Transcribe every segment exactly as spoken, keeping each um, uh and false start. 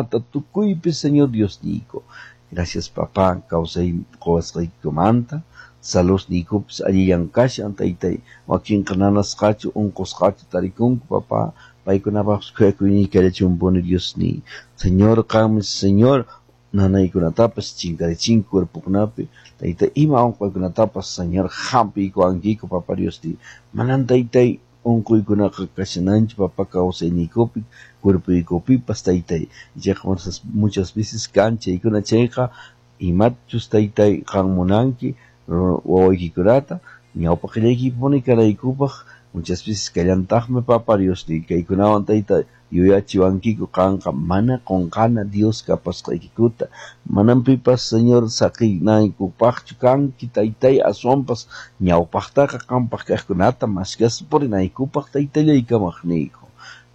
chaykunata tukuypi Señor Diosniyku. Gracias, papá, kawsay quwasqaykikumanta, saludniykupis allillan kashan, taytay, wakinqa nanasqachu unqusqachu tarikunku, papá, paykunapaqpis khuyakuyniyki kallachunpuni, Diosniy. Señor, qanmi, Señor, nanaykunatapas chinkarichinki cuerpokunapi, taytay, ima unquykunatapas, Señor, hampiykuwankiku, papá Diosniy. Manan, taytay, unquykunaqa kashananchu, papá, kawsayniykupi, cuerpoykupipas, taytay. Ichaqa muchas, muchas veces kan chaykuna chayqa, imachus, taytay, qan munanki wawaykikunata ñawpaqillaykipuni kanaykupaq, muchas veces kallantaqmi, papá Diosniy, kaykunawan, tayta, yuyachiwankiku qanqa mana qunqana Dios kapasqaykikuta, manam pipas, Señor, saqinaykupaqchu kanki, taytay, aswanpas ñawpaqtaqa qampaq kaqkunata maskaspa purinaykupaq, taytallay kamaqniyku.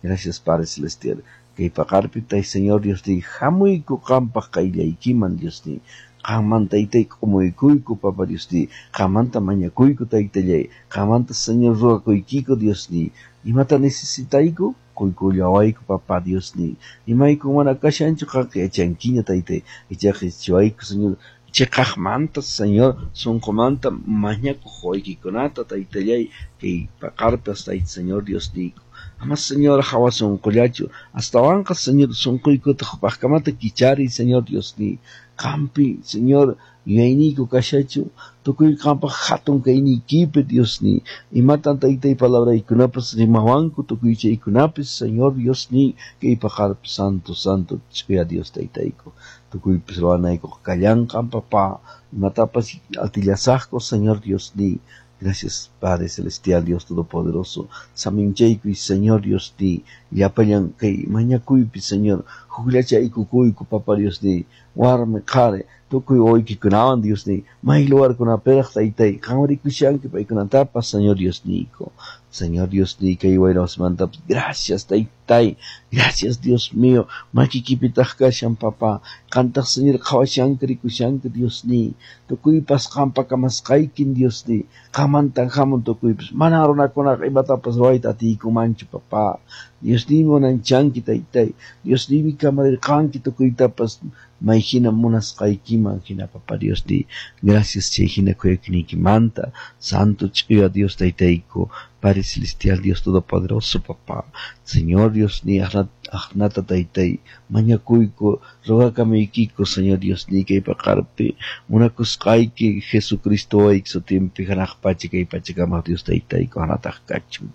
Gracias, Padre Celestial. Kay paqarpi, tay Señor Diosniy, hamuyku qampaq qayllaykiman, Diosniy. Qanman, taytay, k'umuykuyku, Papa Diosniy. Qanmanta mañakuyku, taytallay. Qanmanta, Señor, ruwakuykiku, Diosniy. Imata necesitayku? Quykullawayku, Papá Diosniy. Imayku mana kashanchu qanqa yachankiña, taytay. Ichaqa yachachiwayku, Señor, chiqaqmanta, Señor, sunqumanta mañakuq waykikunata, taytallay, kay paqarpas, tayta Señor Diosniyku. Ama, Señor, hawa sunqullachu, astawanqa, Señor, sunquykuta hukpaqkamata kichariy, Señor Diosniy. Qampi, Señor, yuyayniyku kashachu, tukuy qampaq hatun kayniykipi, Diosniy. Imatan, taytay, palabraykunapas rimawanku, tukuy chaykunapis, Señor Diosniy, kay paqarpi, santo, santo, ch'uya Dios taytayku. Tukuypis ruwanaykuqa kallanqan, papá. Imatapas atillasaqku, Señor Diosniy. Gracias, Padre Celestial, Dios Todopoderoso. Saminchaykuy, Señor Diosniy. Llapallan kay mañakuypi, Señor. Hukllachaykukuyku, Papá Diosniy. Warmi, qhari, tukuy wawaykikunawan, Diosniy. May lugarkunapiraq, taytay, qan rikushanki paykunatapas, Señor Diosniyku. Señor Diosniy, kay wayrawasmantapas, gracias, taytay. Gracias, Dios mío. Makiykipitaq kashan, papá. Qantaq, Señor, qhawashanki, rikushanki, Diosniy. Tukuypas qampa kamasqaykin, Diosniy. Qanmantan hamun tukuypas. Mana runakunaqa imatapas ruwayta atiykumanchu, papá. Diosniymi unanchanki, taytay. Diosniymi kamarirqanki tukuytapas may hina munasqaykiman hina, papá Diosniy. Gracias chay hina khuyakuyniykimanta. Santo ch'uya Dios taytayku. Padre Celestial, Dios Todopoderoso, papá. Señor Diosniy, aqnata taytay, mañakuyku, rogakamuykiku, Señor Diosniy, kay paqarpi, munakusqayki Jesucristo wayki sutinpi hanaq pacha kay pachakamaq Dios taytayku hanataq kachun.